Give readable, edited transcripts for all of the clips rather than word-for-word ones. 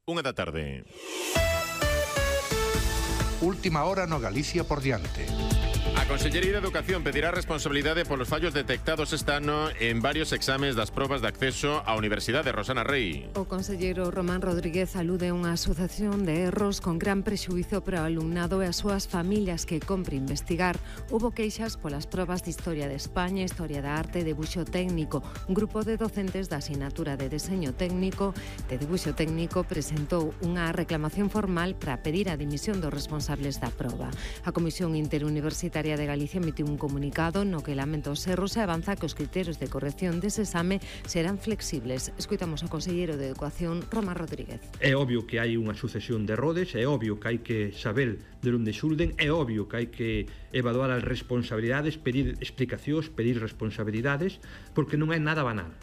1:00 da tarde. Última hora no Galicia por diante. A Consellería de Educación pedirá responsabilidade polos fallos detectados este ano en varios exames das probas de acceso á Universidade. Rosana Rey. O conselleiro Román Rodríguez alude a unha sucesión de erros con gran prexuízo para o alumnado e as súas familias que compre investigar. Hubo queixas polas probas de Historia de España, Historia da Arte e Debuxo Técnico. Un grupo de docentes da asignatura de Deseño Técnico de Debuxo Técnico presentou unha reclamación formal para pedir a dimisión dos responsables da proba. A Comisión Interuniversitaria de Galicia emitiu un comunicado no que lamenta os erros e avanza que os criterios de corrección dese exame serán flexibles. Escoitamos ao conselleiro de Educación, Román Rodríguez. É obvio que hai unha sucesión de errores, é obvio que hai que saber de onde xurden, é obvio que hai que evaluar as responsabilidades, pedir explicacións, pedir responsabilidades, porque non é nada banal.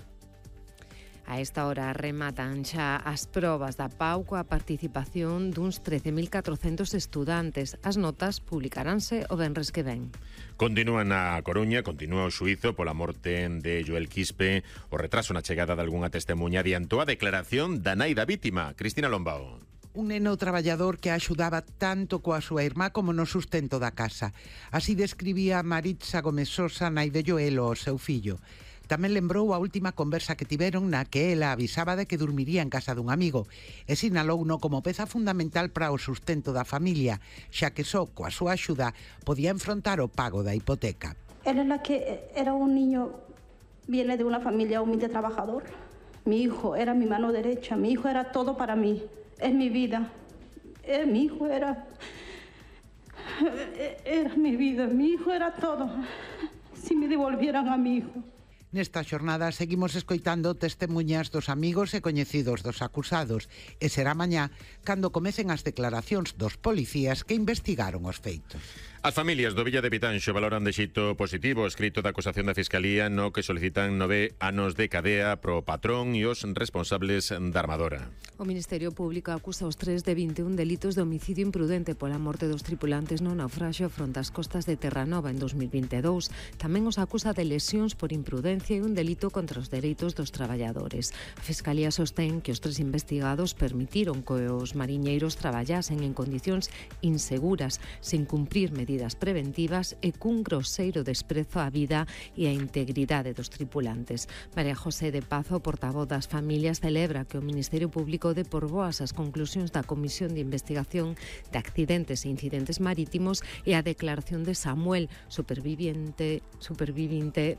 A esta hora rematan xa as probas da PAU coa participación duns 13.400 estudantes. As notas publicaránse o venres que ven. Continúa na Coruña, continúa o xuízo pola morte de Joel Quispe. O retraso na chegada de algunha testemunha adiantou a declaración da nai da vítima, Cristina Lombao. Un neno traballador que axudaba tanto coa súa irmá como no sustento da casa. Así describía Maritza Gómez Sosa, nai de Joel, o seu fillo. Tamén lembrou a última conversa que tiveron na que ela avisaba de que dormiría en casa dun amigo e sinalouno como peza fundamental para o sustento da familia, xa que só coa súa axuda podía enfrontar o pago da hipoteca. Era un niño, viene de una familia humilde trabajador. Mi hijo era mi mano derecha, mi hijo era todo para mí, es mi vida. Mi hijo era mi vida, mi hijo era todo. Si me devolvieran a mi hijo. Nesta xornada seguimos escoitando testemuñas dos amigos e coñecidos dos acusados e será mañá cando comecen as declaracións dos policías que investigaron os feitos. As familias do Villa de Pitanxo valoran de xeito positivo o escrito da acusación da Fiscalía no que solicitan 9 anos de cadea pro patrón e os responsables da armadora. O Ministerio Público acusa os 3 de 21 delitos de homicidio imprudente pola morte dos tripulantes no naufraxio fronte ás costas de Terranova en 2022. Tamén os acusa de lesións por imprudencia e un delito contra os dereitos dos traballadores. A Fiscalía sostén que os 3 investigados permitiron que os mariñeiros traballasen en condicións inseguras, sen cumprir medidas preventivas e cun groseiro desprezo á vida e á integridade dos tripulantes. María José de Pazo, portavoz das familias, celebra que o Ministerio Público dé por boas as conclusións da Comisión de Investigación de Accidentes e Incidentes Marítimos e a declaración de Samuel, supervivinte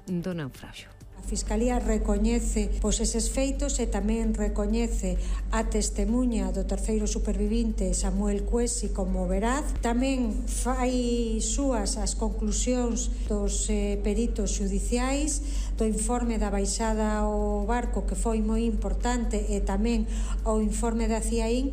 do naufraxio. A Fiscalía recoñece eses feitos e tamén recoñece a testemuña do terceiro supervivinte Samuel Cuesi como veraz. Tamén fai súas as conclusións dos peritos xudiciais, do informe da baixada ao barco que foi moi importante e tamén o informe da CIAIN.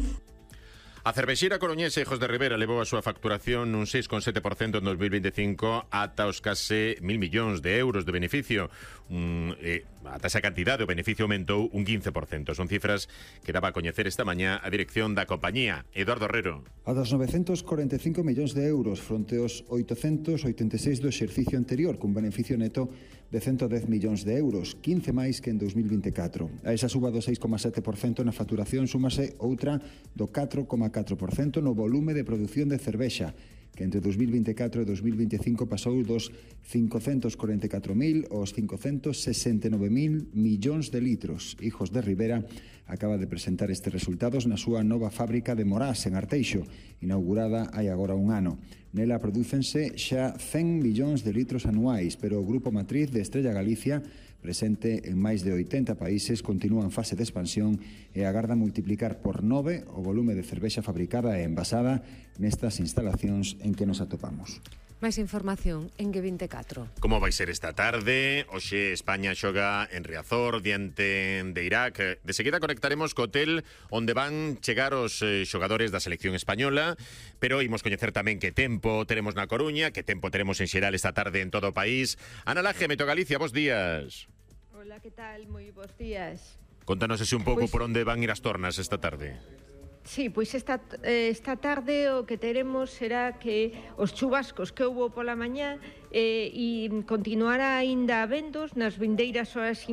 A cervexeira coruñesa Hijos de Ribera levou a súa facturación nun 6,7% en 2025 ata os case 1.000 millóns de euros de beneficio. Ata esa cantidade o beneficio aumentou un 15%. Son cifras que daba a coñecer esta mañá a dirección da compañía. Eduardo Herrero. A dos 945 millóns de euros fronte aos 886 do exercicio anterior, cun beneficio neto de 110 millóns de euros, 15 máis que en 2024. A esa suba do 6,7% na facturación súmase outra do 4,4% no volume de produción de cervexa, que entre 2024 e 2025 pasou dos 544.000 aos 569.000 millóns de litros. Hijos de Ribera acaba de presentar estes resultados na súa nova fábrica de Morás, en Arteixo, inaugurada hai agora un ano. Nela prodúcense xa 100 millóns de litros anuais, pero o grupo matriz de Estrella Galicia, presente en máis de 80 países, continúa en fase de expansión e agarda multiplicar por 9 o volume de cervexa fabricada e envasada nestas instalacións en que nos atopamos. Máis información en G24. Como vai ser esta tarde? Hoxe España xoga en Riazor diante de Irak. De seguida conectaremos co hotel onde van chegar os xogadores da selección española, pero imos coñecer tamén que tempo teremos na Coruña, que tempo teremos en xeral esta tarde en todo o país. Ana Laje, Meteo Galicia, bos días. Hola, que tal? Moi bos días. Contanos un pouco por onde van ir as tornas esta tarde. Sí, pois esta tarde o que teremos será que os chubascos que houbo pola mañá e continuará aínda habendos nas vindeiras horas